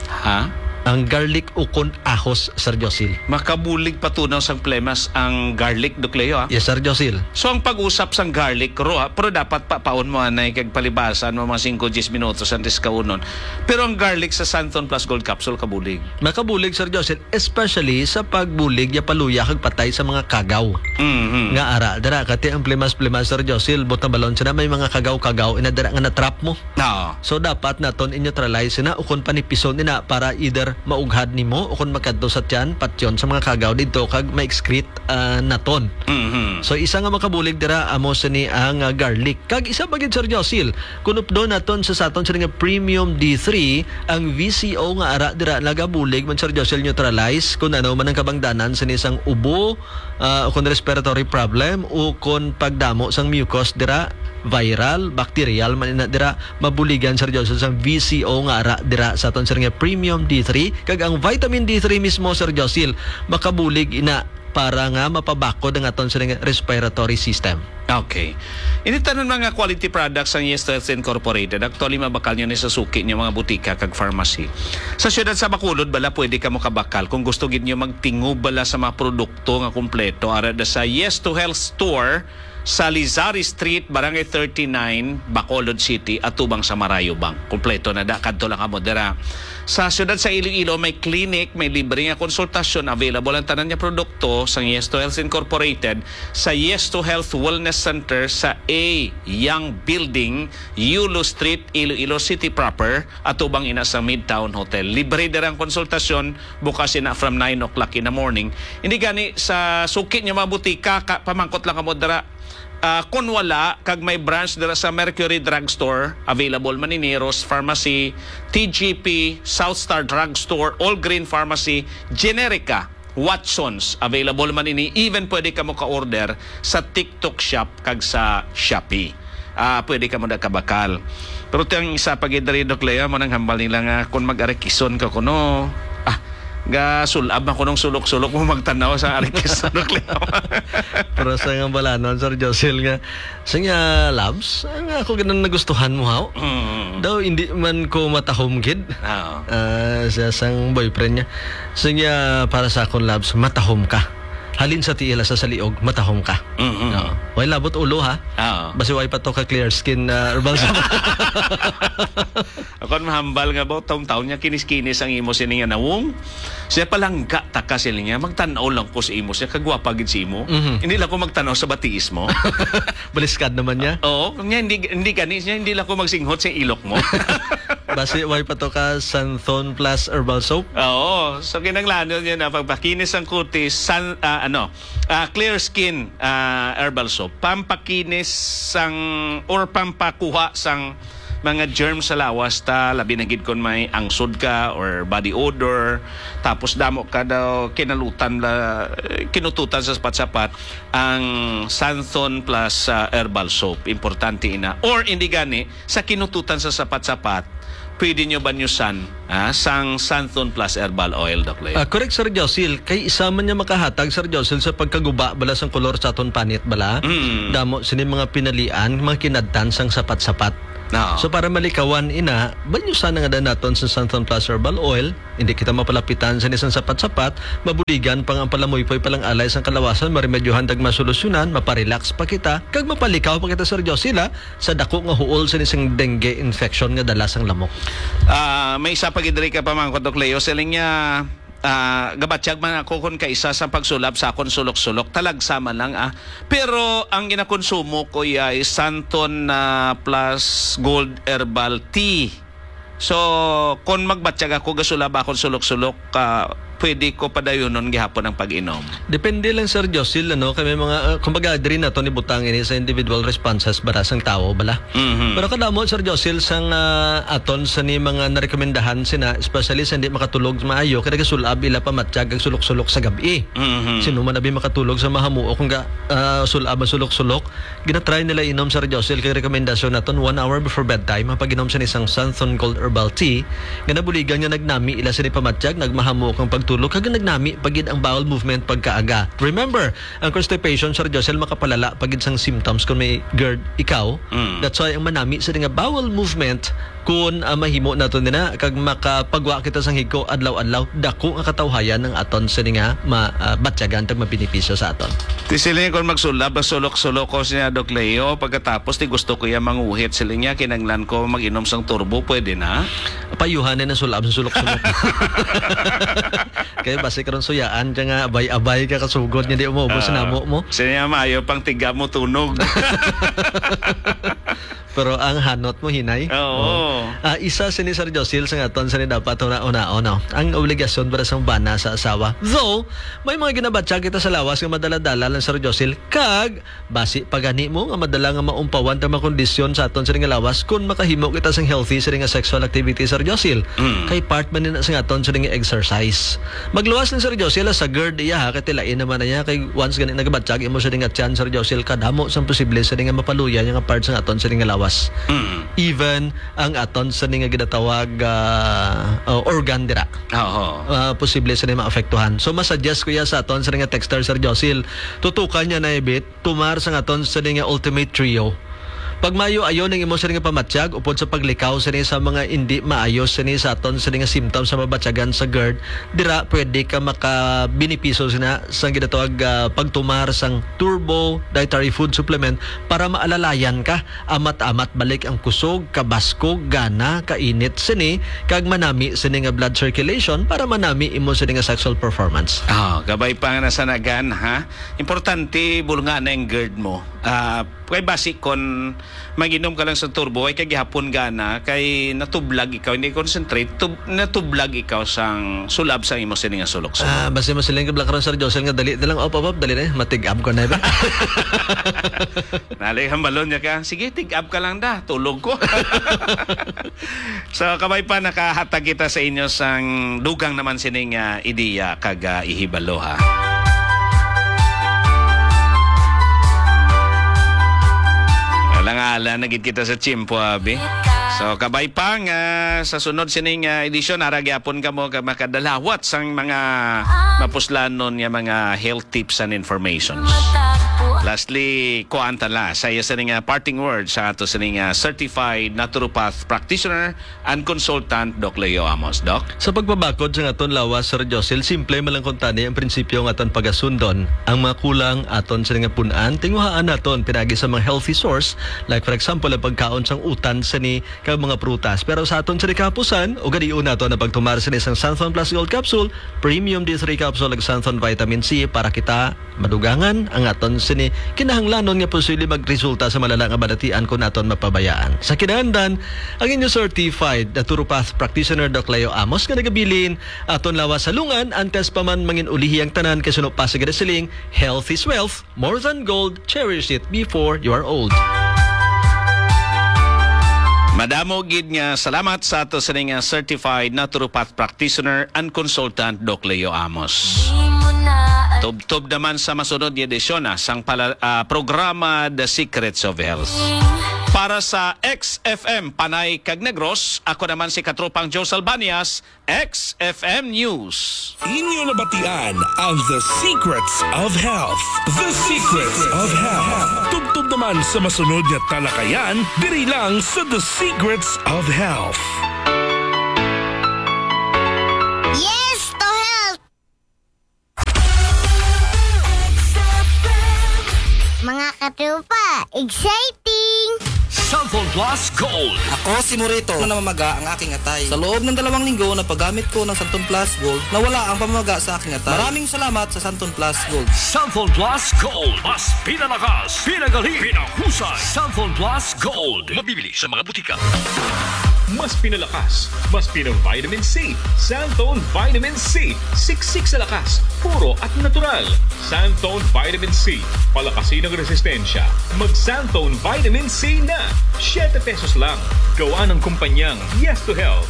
Ha? Ang garlic ukon ahos, Sir Josil. Makabulig patunaw sang plemas ang garlic, Doc Leo, ha? Yes, Sir Josil. So, ang pag-usap sang garlic, ro, ha? Pero dapat pa paon mo anay kag palibasan mo mga singko, diyes minutos antes kaunon. Pero ang garlic sa Santon Plus Gold Capsule kabulig. Makabulig, Sir Josil, especially sa pagbulig ya paluya kag patay sa mga kagaw. Mhm. Nga ara dira, kati ang plemas-plemas, Sir Josil, butang balon sila, may mga kagaw-kagaw ina dira nga na-trap mo. Oo. So, dapat naton i-neutralize na ukon panipison ina para either maughad nimo ukon makadto sa tiyan, patyon sa mga kagaw didto kag ma-excrete, ah, naton. Mhm. So, isa nga makabulig dira amo sini ang, ah, garlic. Kag isa pa gid, Sir Josil, kun updon naton sa saton sini nga premium D three, ang V C O nga ara dira nagabulig man, Sir Josil, neutralize kun ano man ang kabangdanan sini sang ubo, ah, o kon respiratory problem, o kon pagdamo sang mucus dira, viral, bacterial man ina dira, mabuligan, Sir Josil, sang V C O nga ara dira sa aton, sir, nga premium D three, kag ang vitamin D three mismo, Sir Josil, makabulig ina para nga mapabakod ang aton, sir, nga respiratory system. Okay. Ini tanan mga quality products sang Yes to Health Incorporated. Actually, mabakal nyo ni sa suki nyo mga butika kag pharmacy. Sa siyudad sa Bacolod, bala, pwede ka mo kabakal kung gusto gid nyo magtingob bala sa mga produkto nga kompleto. Ara da sa Yes to Health Store sa Lizari Street, Barangay thirty-nine, Bacolod City, atubang sa Marayo Bank. Kompleto na da, kadto lang kamo dira. Sa siyudad sa Iloilo, may clinic, may libre nga konsultasyon, available ang tanan nga produkto sa Yes to Health Incorporated, sa Yes to Health Wellness Center sa A Young Building, Yulo Street, Iloilo City proper, atubang ina sa Midtown Hotel. Libre dira ang konsultasyon, bukas ina from nine o'clock in the morning. Hindi gani sa suki niyo mga butika, ka, pamangkot lang kamo dira. Ah, kun wala, kag may branch dira sa Mercury Drugstore, available man ini, Rose Pharmacy, T G P, South Star Drugstore, All Green Pharmacy, Generica, Watsons, available man ini. Even pwede ka mo ka-order sa TikTok Shop kag sa Shopee. Ah, pwede ka mo na kabakal. Pero ti ang isa pa gid diri, Doc Leo, mo nang hambal nila nga kung mag-arikison ka kuno, ah, ga sulab man kunong sulok-sulok mo magtanaw sa arikison, Doc Leo. Pero sa nga balanon, Sir Josil, nga, sa nga labs, ang ako ganun nagustuhan mo, haw? Mm. Daw, hindi man ko matahom gid. Oo. Ah, sa sang boyfriend niya. Sa nga, para sa akong labs, matahom ka. Halin sa tiil sa saliog, matahom ka. Mm-mm. Oo. Way labot ulo, ha? Oo. Basi way pa to ka clear skin, ah, herbal sa Ako ang mahambal nga ba, taon-taon niya kinis-kinis ang imo sini nga nawong. Siya palangga ta ka sila niya, magtanaw lang ko sa imo, siya kagwapa gid sa imo. Mhm. Hindi lang ko magtanaw sa batiis mo. Baliskad naman niya. Oo, niya, hindi, hindi gani, niya, hindi lang ko magsinghot sa ilok mo. Basi, way pa to ka Santhon Plus Herbal Soap? Oo, so kinanglanon niya na pagpakinis ang kutis, san, ah, ano, ah, Clear Skin, ah, Herbal Soap. Pampakinis sang, or pampakuha sang mga germs sa lawas ta, labi na gid kon may angsod ka or body odor, tapos damo ka daw kinalutan la, kinututan sa sapat-sapat, ang Santhon Plus, ah, Herbal Soap. Importante ina. Or hindi gani, sa kinututan sa sapat-sapat, pwede nyo banyusan, ah, sang Santhon Plus Herbal Oil, Doc Leo. Ah, correct, Sir Josil. Kay isa man niya makahatag, Sir Josil, sa pagkaguba bala sang kolor sa aton panit bala. Mm. Damo sini mga pinalian, mga kinadtan sang sapat-sapat. Oo. So, para malikawan ina, banyusan na nga naton sa Santhon Plus Herbal Oil. Hindi kita mapalapitan sa isang sapat-sapat, mabuligan pa nga ang palamuypoy palang alay sang kalawasan, maremedyohan tag masolusyonan, maparelax pa kita, kag mapalikaw pa kita, Sir Josila, sa dako nga huol sa isang dengue infection nga dala sang lamok. Ah, may isa pa gid diri ka pamangkot, Doc Leo. Siling niya, ah, gabatyag man ako kon kaisa sa pagsulab sa akon sulok-sulok. Talagsa man lang, ah. Pero ang ginakonsumo ko ay Santon, ah, Plus Gold Herbal Tea. So, kon magbatyag ako, gasulab akon sulok-sulok, ah, pwede ko padayunon gihapon ang pag-inom. Depende lang, Sir Josil, ano, kay may mga, ah, kumbaga, diri naton ibutang ini sa individual responses bala sang tawo bala. Mhm. Pero kadamo, Sir Josil, sang, ah, aton sa ni mga narekomendahan sina, especially sa hindi makatulog maayo, kay nagasulab ila pamatyag ang sulok-sulok sa gab-i. Mhm. Sino man abi makatulog sa mahamuok nga, ah, sulab ang sulok-sulok, ginatry nila inom, Sir Josil, kay rekomendasyon naton one hour before bedtime ang pag-inom sa isang Santhon Gold Herbal Tea nga nabuligan nga nagnami ila sini pamatyag, nagmahamuok ang pagtulog, kag nagnami pa gid ang bowel movement pagkaaga. Remember, ang constipation, Sir Josil, makapalala pa gid sang symptoms kung may gerd ikaw. Mm. That's why ang manami sa nga bowel movement, kung, ah, mahimo nato nina, kag makapagwa kita sang higko adlaw-adlaw, dako nga katawhayan ang aton sini nga ma-, ah, batyagan tag mabenepisyo sa aton. Ti sila kon magsulab, sulok-sulok ko siya, Doc Leo. Pagkatapos, ti gusto ko iya manguhit. Sila niya, kinanglan ko mag-inom sang turbo. Pwede na? Payuhan na sulab sa sulok-sulok. Kaya basi karon suyaan ka nga abay-abay ka kasugod nga di mo ubos sa Ah, namo mo. Sila niya, maayo pang tiga mo tunog. Pero ang hanot mo, hinay. Oo. Oo. Ah, isa sini, Sir Josil, sa aton sini dapat una-unaon, no? Ang obligasyon para sa bana sa asawa. Though, may mga ginabatyag kita sa lawas nga madala-dala lang, Sir Josil, kag basi pa gani mo nga madala nga maumpawan ta makondisyon sa aton sini nga lawas kung makahimo kita sing healthy sini nga sexual activity, Sir Josil. Mm. Kay part man nina sa aton sini nga exercise. Magluwas lang, Sir Josil, sa gerd iya, ha, kay tilain naman na niya, kay once gani nagabatyag imo sini nga tiyan, Sir Josil, kadamo sang posible sini nga mapaluya niya nga part sa aton sini nga lawas. Mm. Even ang aton sini nga ginatawag, ah, uh, organ dira. Oo. Ah, posible sini maapektuhan. So, masuggest ko iya sa aton sini nga texter, Sir Josil, tutukan niya na ibit, tumar sa aton sini nga Ultimate Trio. Pag maayo-ayo ning imo sini nga pamatyag upod sa paglikaw sini sa mga indi maayo sini sa aton sini nga symptoms sa mabatyagan sa gerd, dira pwede ka makabenepisyo sina sa ginatawag, ah, pagtumar sang Turbo Dietary Food Supplement para maalalayan ka, amat-amat balik ang kusog, kabaskog, gana, kainit sini, kag manami sini nga blood circulation para manami imo sini nga sexual performance. Ah, kabay pa nga nasanagan, ha? Importante, bulungan na ang gerd mo. Ah, kay basi kon mag-inom ka lang sa turbo, ay kay gihapon gana, kay natublag ikaw, hindi concentrate, tub-, natublag ikaw sang sulab sang imo sini nga sulok-sulok. Ah, basi mo siling ka, Black Rose, Sir Josel, nga dali na lang, op, op, op, dali na, matig-ab ko na, ba? Nalay, hambalon niya ka, "Sige, tig-ab ka lang da, tulog ko." So, kabay pa, nakahatag kita sa inyo sang dugang naman sining, ah, ideya kag, ah, ihibalo, ha. Alang-ala na gid kita sa tiyempo, abi. So, kabay pa nga sa sunod sining, ah, edisyon, ara gyapon kamo ka makadalawat sang mga mapuslanon nga mga health tips and informations. Lastly, kuan ta la, sa iya sining, ah, parting words sa ato sining, ah, certified naturopath practitioner and consultant, Doc Leo Amos. Doc? Sa pagpabakod sa aton lawas, Sir Josel, simple man lang kuntani ang prinsipyo nga aton pagasundon. Ang mga kulang aton sini nga pun-an, tinguhaan naton pinaagi sa mga healthy source, like for example, ang pagkaon sang utan sini kag mga prutas. Pero sa aton sini kahapusan, ugalion naton ang pagtumar sini sang Santhon Plus Gold Capsule, Premium D three Capsule, ug Santhon Vitamin C para kita madugangan ang aton sini kinahanglanon nga posible magresulta sa malala nga balatian kung aton mapabayaan. Sa kinaandan, ang inyo certified naturopath practitioner, Doc Leo Amos, nga nagabilin, aton lawas sa lungan, antes pa man mangin-ulihi ang tanan, kay suno pa sa ginasiling, "Health is wealth, more than gold, cherish it before you are old." Madamo gid nga salamat sa ato sini nga certified naturopath practitioner and consultant, Doc Leo Amos. Tubtob naman sa masunod nga edisyon, ah, sang pala-, ah, programa The Secrets of Health. Para sa X F M Panay kag Negros, ako naman si Katropang Joe Salbanias, X F M News. Inyo nabatian ang The Secrets of Health. The Secrets of Health. Tubtob naman sa masunod nga talakayan, diri lang sa The Secrets of Health. Yes to health! Mga katropa, exciting! Santon Plus Gold. Ako si Morito na namamaga ang aking atay. Sa loob ng dalawang linggo na paggamit ko ng Santon Plus Gold, nawala ang pamamaga sa aking atay. Maraming salamat sa Santon Plus Gold. Santon Plus Gold. Mas pinalakas, pinagaling, pinahusay. Santon Plus Gold. Mabibili sa mga butika. Mas pinalakas, mas pinang-vitamin C. Santon Vitamin C. Siksik sa lakas, puro at natural. Santon Vitamin C. Palakasin ang resistensya. Mag Santon Vitamin C na. Siyete pesos lang. Gawa ng kumpanyang Yes to Health.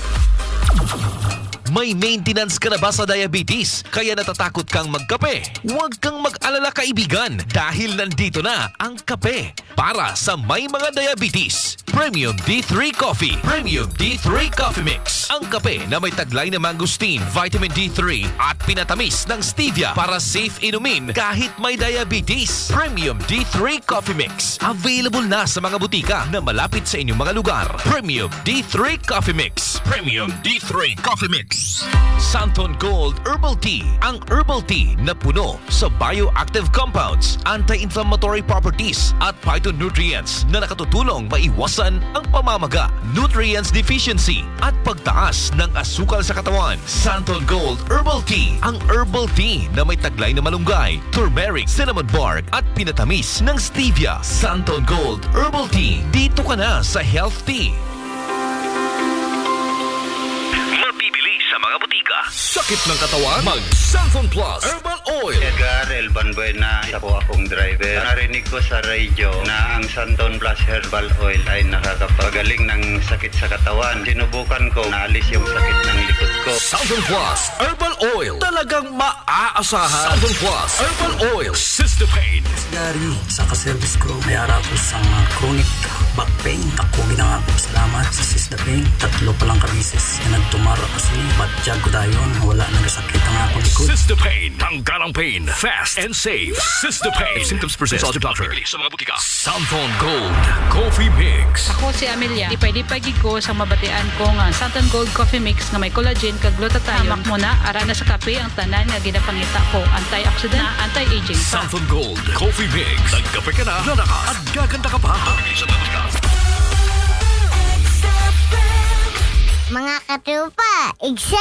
May maintenance ka na ba sa diabetes? Kaya natatakot kang magkape? Huwag kang mag-alala, kaibigan, dahil nandito na ang kape para sa may mga diabetes. Premium D three Coffee. Premium D three Coffee Mix. Ang kape na may taglay na mangosteen, vitamin D three, at pinatamis ng stevia para safe inumin kahit may diabetes. Premium D three Coffee Mix. Available na sa mga butika na malapit sa inyong mga lugar. Premium D three Coffee Mix. Premium D three Coffee Mix. Santon Gold Herbal Tea. Ang herbal tea na puno sa bioactive compounds, anti-inflammatory properties, at phytonutrients na nakatutulong maiwasan ang pamamaga, nutrients deficiency, at pagtaas ng asukal sa katawan. Santon Gold Herbal Tea, ang herbal tea na may taglay na malunggay, turmeric, cinnamon bark, at pinatamis ng stevia. Santon Gold Herbal Tea, dito ka na sa health tea. Mabibili sa mga butika. Sakit ng katawan? Mag Santon Plus Herbal Oil. Edgar Elban Buena, isa po akong driver. Narinig ko sa radyo na ang Santon Plus Herbal Oil ay nakakapagaling ng sakit sa katawan. Sinubukan ko, naalis yung sakit ng likod ko. Santon Plus Herbal Oil. Talagang maaasahan. Santon Plus Herbal Oil. Sister Pain. Gary, sa ka-service ko, may ara ko sa mga chronic back pain. Ako ginangako salamat sa Sister Pain. Tatlo pa lang ka beses na nagtumar ako sini. Batyag ko dayon, wala na sakit ang akong likod. Sister Pain. Tanggal ang pain. Fast and safe. Sister Pain. If symptoms persist, consult your doctor. Bibili sa mga butika. Santon Gold Coffee Mix. Ako si Amelia. Lipay-lipay gid ko sa mabatian ko nga Santon Gold Coffee Mix nga may collagen kag glutathione. Hamak mo na, ara na sa kape ang tanan nga ginapangita ko. Antioxidant, anti-aging pa. Santon Gold Coffee Mix. Nagkape ka na, lalakas, at gaganda ka pa. Mga katropa, exciting!